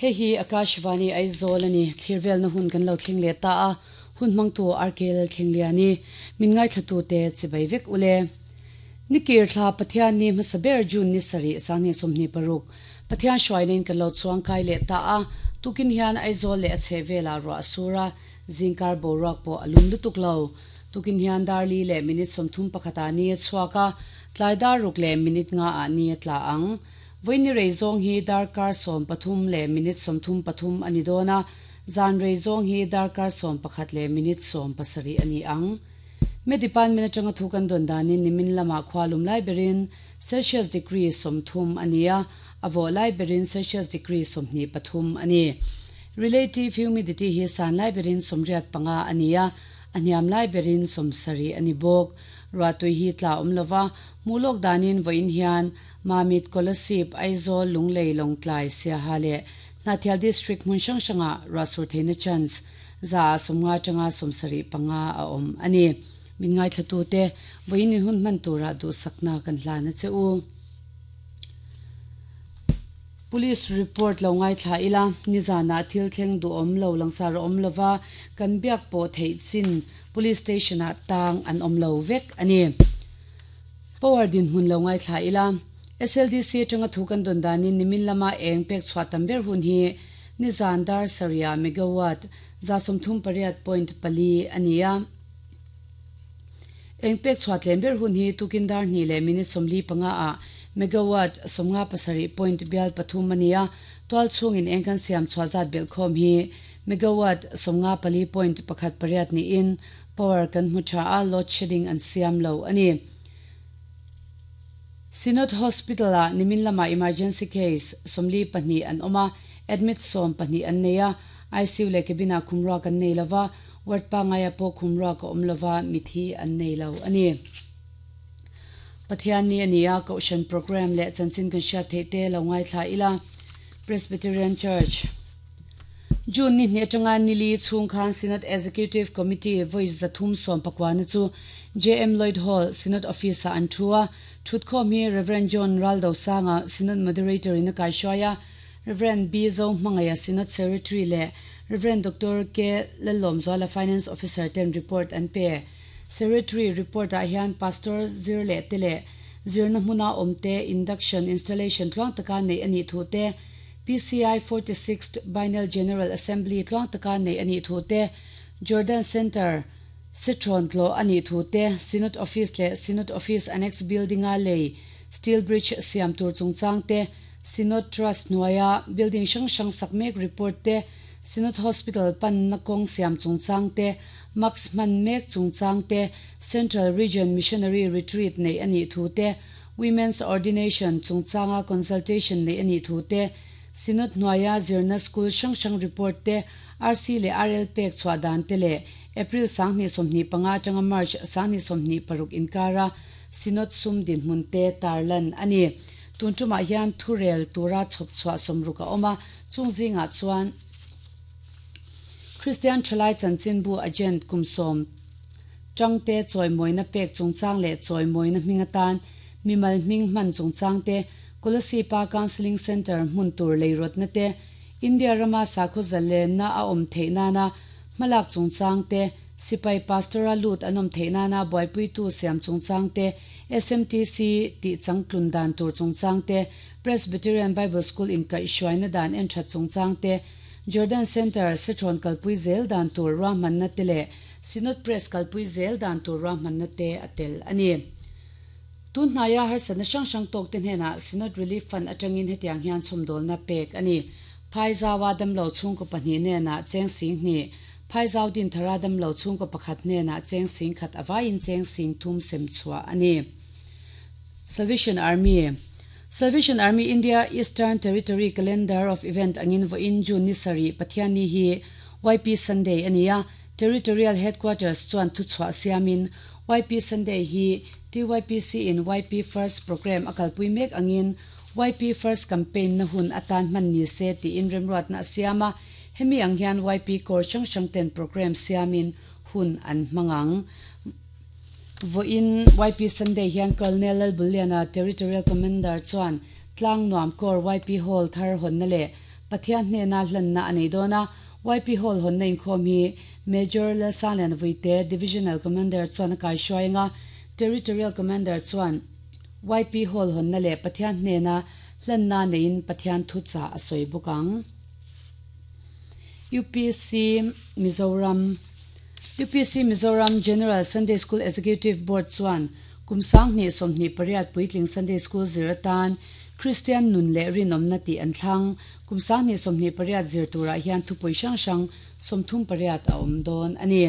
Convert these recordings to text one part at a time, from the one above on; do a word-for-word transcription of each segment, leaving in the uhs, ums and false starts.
Hei hi Akashvani Aizawl ani thirvel na hun kan lo thleng le ta a hun mangtu arkel thleng liani min ngai thlatu te chibai vek ule nikir thla Pathian ni hmasaber June ni sari sani sumni paruk Pathian shwainin kan lo chuang kai le ta a tukin hian Aizawl le a chhevela ro asura zingkar boruak po alum lutuk lo tukin hian darli le minute somthum pakhata ni chuaka tlaidar ruk le minute nga a ni tla ang voini reizong hi darkar som pathum le minute somthum pathum ani dona zan reizong hi darkar som pakhat le minute som pasari ani ang me department atanga thukan don danin nimin lama khwalum lai berin Celsius degree somthum ania avo lai berin Celsius degree somni pathum ani relative humidity hi san lai berin somriat panga ania aniam lai berin somsari ani bok ratui hi tla omlova mulok danin voin hian Mamit Kolasib Aizawl Lunglei Longtlai Siaha le Nathial district mun sang sanga rasur theina chance za somnga changa somsari panga a om ani min ngai thlatu te voin hun man tura du sakna kan hlana che u police report lo ngai thla ila nizana thil thleng du om lo langsar om lova kan biak po thei chin police station a tang an om lo vek ani power din hun lo ngai thla ila S L D C tanga thukan don danin nimin lama eng pek chwa tamber hun hi nizan dar saria megawatt za somthum pariat point pali ania eng pek chwa tlember hun hi tukindar ni le minute somli panga a megawatt somnga pasari point bial pathum ania twal chungin engkan siam chwazat bel khom hi megawatt somnga pali point pakhat pariat ni in power kan mucha a load shedding an siam lo ani Synod Hospital a nimin lama emergency case somli pahni an oma admit som pahni an neia I C U le kebina khumra kan nei lova ward pa ngaya po khumra ka omlova mithi an nei lo ani Pathian ni ania koshan program le chanchin kan sha the te lo ngai thla ila Presbyterian Church June ni hne tanga nili chung khan Synod Executive Committee voice zathum som pakwana chu J M Lloyd Hall Synod Officer an thua thutkhom hi Reverend John Raldo Sanga Synod Moderator in kai shoya Reverend B Zo Mangaya Synod Secretary le Reverend Doctor K Lalom Zola Finance Officer ten report an pe Secretary report a hian Pastor Zirle tele Zirna hmuna omte induction installation tluang taka nei ani thu te P C I forty-sixth Biennial General Assembly tluang taka nei ani thu te Jordan Center Citron tlo ani thu te Synod Office le Synod Office Annex Building a lei Steel Bridge siam tur chungchang te Synod Trust nuaya building sang sang sakmek report te Synod Hospital pan na kong siam chungchang te Max man mek chungchang te Central Region Missionary Retreat nei ani thu te Women's Ordination chungchanga consultation nei ani thu te Synod nuaya zirna school sang sang report te R C le R L pek chwa dan te le April sangni somni panga tanga March sangni somni paruk inkara Synod sum din munte tarlan ani tuntuma hian thurel tura chop chwa somruka oma chungzinga chuan Christian Thalai chanchin bu agent kumsom changte choimoina pek chungchang le choimoina hmingatan mimal hming man chungchang te Kolasipa Counseling Center hmun tur leirot na te India rama sakho zale na a om theina na malak chungchang te sipai pastoral lut anom theina na boipui tu siam chungchang te S M T C ti changtlun dan tur chungchang te Presbyterian Bible School in kai shwaina dan en that chungchang te Jordan Center Sitron kalpui zel dan tur ra man na te le Synod Press kalpui zel dan tur ra man na te atel ani tun hnaya har sana sang sang tok ten hena Synod Relief Fund atangin hetiang hian chumdol na pek ani phaizawa dam lo chung ko pahni ne na cheng sing ni phaizaw din thara dam lo chung ko pakhat ne na cheng sing khat awain cheng sing thum sem chua ani Salvation Army Salvation Army India Eastern Territory Calendar of Event angin vo in June ni sari Pathian ni hi Y P Sunday ania Territorial Headquarters chuan thu chwa siamin Y P Sunday hi T Y P C in Y P First Program akalpui mek angin Y P First Campaign na hun atan man ni se ti in remruat na siama hemi ang hian Y P Core chang chang ten program siamin hun an mangang vo in Y P Sunday hian Colonel Buliana Territorial Commander chuan tlang nuam kor Y P Hall thar hon na le Pathian hnena hlanna a nei dawn a. Y P Hall hawnna inkhawm hi Major Lalsangliana Vuite, Divisional Commander chuan a kaihruai anga, Territorial Commander chuan Y P Hall hawnna leh Pathian hnena hlanna neiin Pathian thuchah a sawi bawk ang. U P C Mizoram U P C Mizoram General Sunday School Executive Board chuan kum sanghnih sawmhnih pariat puitling Sunday School zir atan Kristian nun leh rinawmna tih an thlang. Kum sanghnih sawmhnih pariat zir turah hian thupui hrang hrang sawmthum pariat a awm dawn a ni.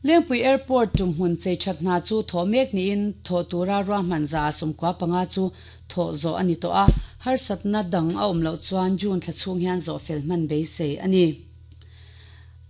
Lengpui Airport tumhmun chei that hna chu thawh mek niin thawh tura ruahman za sawmkua panga chu thawh zawh a ni tawh a, harsatna dang a awm loh chuan June thla chhung hian zawh fel hman beisei a ni.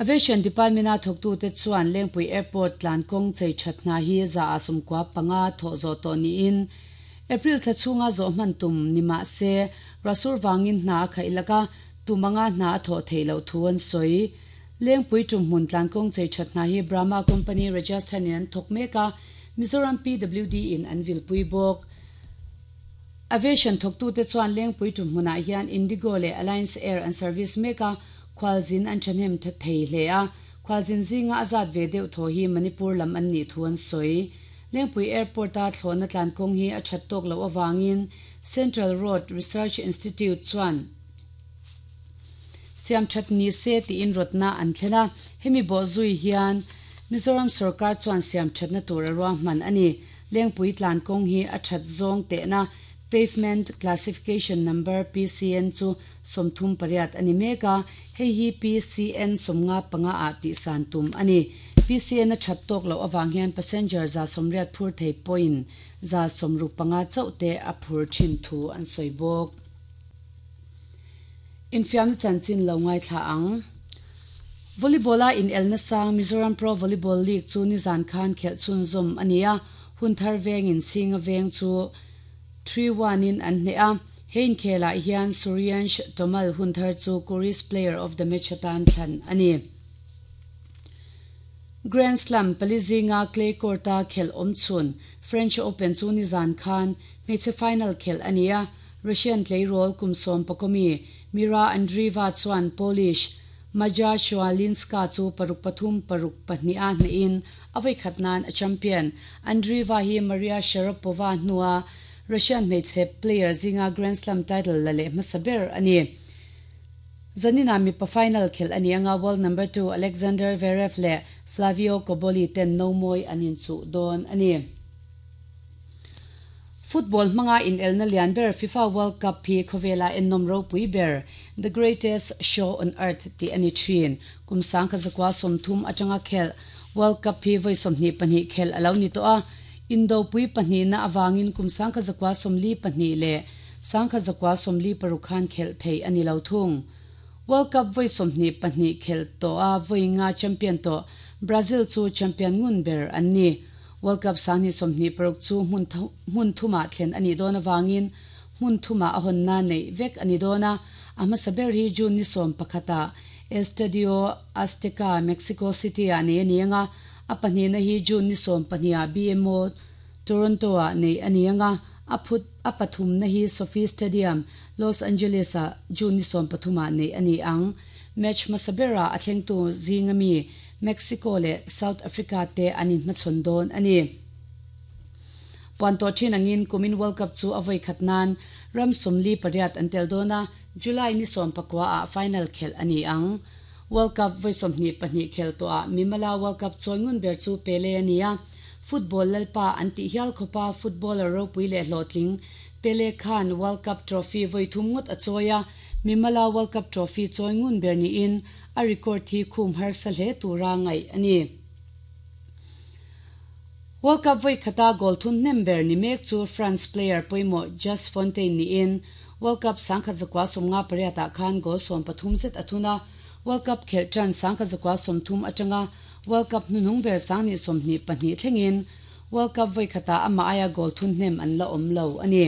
Aviation Department-a thawktute chuan Lengpui Airport tlankawng chei that hna hi za a sawmkua panga thawh zawh tawh niin April thla chhunga zawh hman tum ni mah se ruahsur vangin hna a khaih laka tumanga hna a thawh theih loh thu an sawi. Lengpui tumhmun tlankawng chei that hna hi Brahma Company Rajasthan in an thawk mek a, Mizoram P W D in an vilpui bawk. Aviation thawktute chuan Lengpui tumhmunah hian Indigo leh Alliance Air an service mek a, khualzin an thahnem thei hle a, khualzin zinga a zat ve deuh thaw hi Manipur lam an nih thu an sawi. Lengpui Airport-a thlawhna tlankawng hi a that tawk loh avangin Central Road Research Institute chuan siam that ni se tiin rawtna an thlen a, hemi bawh zui hian Mizoram sorkar chuan siam thatna tur a ruahman a ni. Lengpui tlankawng hi a that zawng tehna Pavement Classification Number P C N chu sawmthum pariat a ni mek a, hei hi P C N sawmnga panga ah tihsan tum a ni. P C N a that tawk loh avang hian passenger za sawmriat phur thei pawhin za sawmruk panga chauh te a phur thin thu an sawi bawk. Infiamna chanchin lo ngaithla ang. Volleyball-a inelna sang Mizoram Pro Volleyball League chu nizan khan khelh chhunzawm a ni a, Hunthar vengin Chhinga Veng chu three one in an hneh a. He inkhelah hian Suryansh Tomal Hunthar chu Kuris Player of the Match atan thlan a ni. Grand Slam pali zinga clay court-a khelh awm chhun French Open chu nizan khan hmeichhe final khelh a ni a, Russian tleirawl kum sawm pakawmi Mira Andreeva chuan Polish Maja Chwalinska chu paruk pathum paruk pahnih a hnehin a vawi nan a champion. Andreeva hi Maria Sharapova hnua Russian hmeichhe player zinga Grand Slam title la leh hmasa ber a ni. Zanina mipa final khelh a ni anga, world number two Alexander Zverev leh Flavio Cobolli ten nomawi an inchuh dawn a ni. Football hmanga inelna lian ber FIFA World Cup hi khawvela ennawm ropui ber, "The Greatest Show on Earth" tih a ni thin. Kum sangkhat zakua sawmthum atanga khelh World Cup hi vawi sawmhnih pahnih khelh a lo ni tawh a, indopui pahnihna awangin kum sangkhat zakua sawmli pahnih leh sangkhat zakua sawmli paruk khan khelh thei a ni lo thung. World Cup vawi sawmhnih pahnih khelh tawh a vawi nga champion tawh Brazil chu champion ngun ber an ni. World Cup sanghnih sawmhnih paruk chu hmun thuma thlen a nih dawn awangin hmun thuma a hawnna neih vek a ni dawn a, a hmasa ber hi June ni sawm pakhata Estadio Azteca, Mexico City ah nei a ni anga, a pahnihna hi June ni sawm pahnih B M O Toronto ah nei a ni anga, a phut a pathumna hi SoFi Stadium, Los Angeles ah June ni sawm pathuma nei a ni ang. Match hmasa berah a thlengtu zinga mi Mexico leh South Africa te an inhmachhawn dawn a ni. Puan tawh thin angin kumin World Cup chu a vawi khat nan ram sawmli pariat an tel dawn a, July ni sawm pakua ah final khelh a ni ang. World Cup vawi sawmhnih pahnih khelh tawh ah mimala World Cup chawi ngun ber chu Pele a ni a, football lalpa an tih hial khawpa footballer ropui leh hlawhtling Pele khan World Cup trophy vawi thum ngawt a chawi a, mimala World Cup trophy chawi ngun ber niin a record hi khum harsa hle tura ngaih a ni. World Cup vawi khata goal thun hnem ber ni mek chu France player pawimawh Just Fontaine niin World Cup sangkhat zakua sawmnga pariat ah khan goal sawm pathum zet a thun a, World Cup khelh tan sangkhat zakua sawmthum atanga World Cup hnuhnung ber sanghnih sawmhnih pahnih thlengin World Cup vawi khata amah aia goal thun hnem an la awm lo a ni.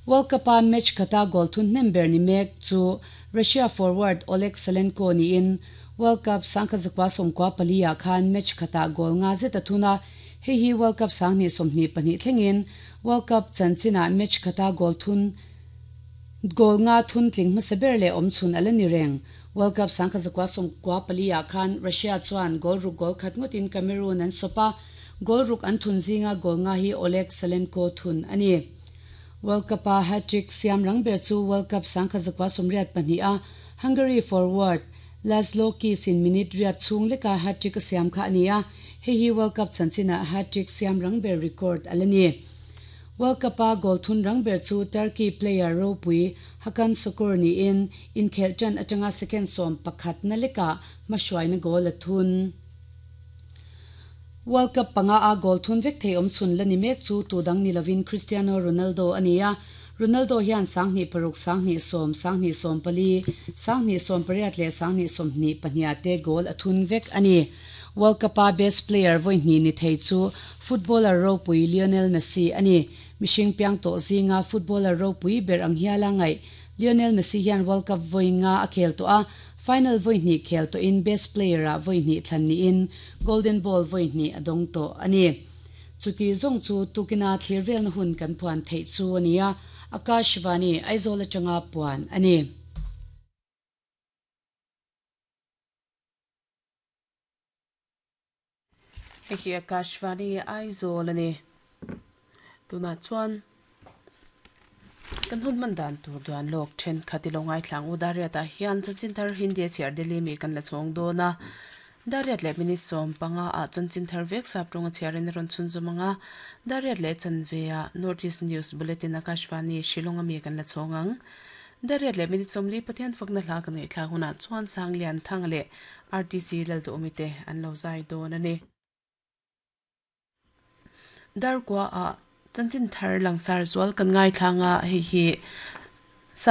World Cup a match khata goal thun hnem ber ni mek chu Russia forward Oleg Salenko niin World Cup sangkhat zakua sawmkua pali ah khan match khata goal nga zet a thun a, hei hi World Cup sanghnih sawmhnih pahnih thlengin World Cup chanchinah match khata goal thun Goal nga thun tling hmasa ber leh awm chhun a la ni reng. World Cup sangkhat zakua sawmkua pali ah khan Russia chuan goal ruk goal khat ngawtin Cameroon an sawp a, goal ruk an thun zinga goal nga hi Oleg Salenko thun a ni. World Cup-a hat-trick siam rang ber chu World Cup sangkhat zakua sawmriat pahnih a Hungary forward Laszlo Kiss-in minute riat chhung leka hat-trick a siam kha a ni a, hei hi World Cup chanchinah hat-trick siam rang ber record a la ni. World Cup-a goal thun rang ber chu Turkey player ropui Hakan Sukur niin inkhelh tan atanga second sawm pakhat na lekah hmahruaina goal a thun. World Cup panga a goal thun vek thei awm chhun la ni mek chu tu dang ni lovin Cristiano Ronaldo a ni a. Ronaldo hian sanghnih paruk sanghnih sawm sanghnih sawm pali sanghnih sawm pariat leh sanghnih sawmhnih pahniha te goal a thun vek a ni. World Cup-a best player vawi hnih ni thei chu footballer ropui Lionel Messi a ni. Mihring piang tawh zinga footballer ropui ber ang hiala ngaih Lionel Messi hian World Cup vawi nga a khel tawh a, final vawi hnih khel tawhin best player-ah vawi hnih thlan niin Golden Ball vawi hnih a dawng tawh a ni. Chuti zawng chu tukina thlir velna hun kan puan theih chu a ni a, Akashvani Aizawl atanga puan a ni. Hei hi Akashvani Aizawl a ni. Tunah chuan kan hun hman dan tur duan lawk thenkhat i lo ngaithlang u Dariatah hian chanchin thar Hindi a chhiar Delhi mi kan la chhawng dawn a. Dariat leh minute sawm panga ah chanchin thar vek sap rawnga chhiarin a rawn chhun zawm ang a. Dariat leh chanve ah North East News Bulletin Akashvani Shillong a mi kan la chhawng ang. Dariat leh minute sawmli Pathian fakna hla kan ngaihthlak hunah chuan Sanglian Thang leh R T C Lalduhawmi te an lo zai dawn a ni. Darkua ah chanchin thar langsar zual kan ngaithlang a, hei hi